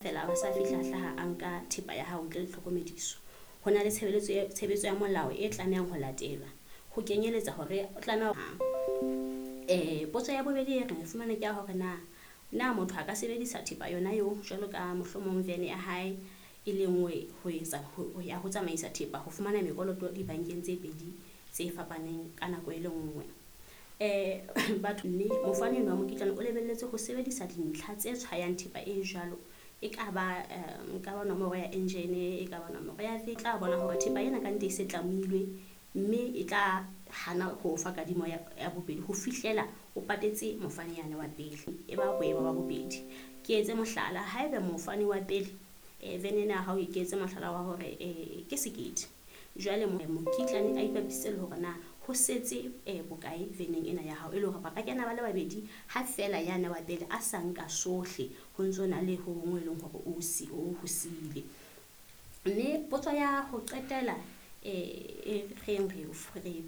Fela ba sa fihla hlaha a nka thepa ya hao ntle le tlhokomediso. Ho na le tshebeletso ya tshebetso ya molao e tlamehang ho latelwa. Ho kenyeletsa hore o tlameha potso ya bobedi e re fumane ke ya hore na na motho a ka sebedisa thepa yona eo jwalo ka mohlomong van ya hae e le ngwe ho etsa ho ya ho tsamaisa thepa ho fumana mekoloto dibankeng tse pedi tse fapaneng ka nako e le nngwe. Batho mme mofani enwa wa mokitlane o lebelletse ho sebedisa dintlha tse tshwayang thepa e jwalo. E ka ba nka ba nomoro ya engine, e ka ba nomoro ya tla bona hore thepa ena ka nnete e se tlamilwe mme e tla hana ho fa kadimo ya bobedi ho fihlela o patetse mofani yane wa pele. E ba boemo ba bobedi. Ke etse mohlala, haeba mofani wa pele van ena ya hao e ke etse mohlala wa hore ke sekete. Jwale mokitlane a ipapisitse le hore na ho setse bokae van-eng ena ya hao e le hore ba ka kena ba le babedi ha feela yane wa pele a sa nka sohle ho ntso na le ho hong e leng hore o si o ho siile. Mme potso ya ho qetela e reng re.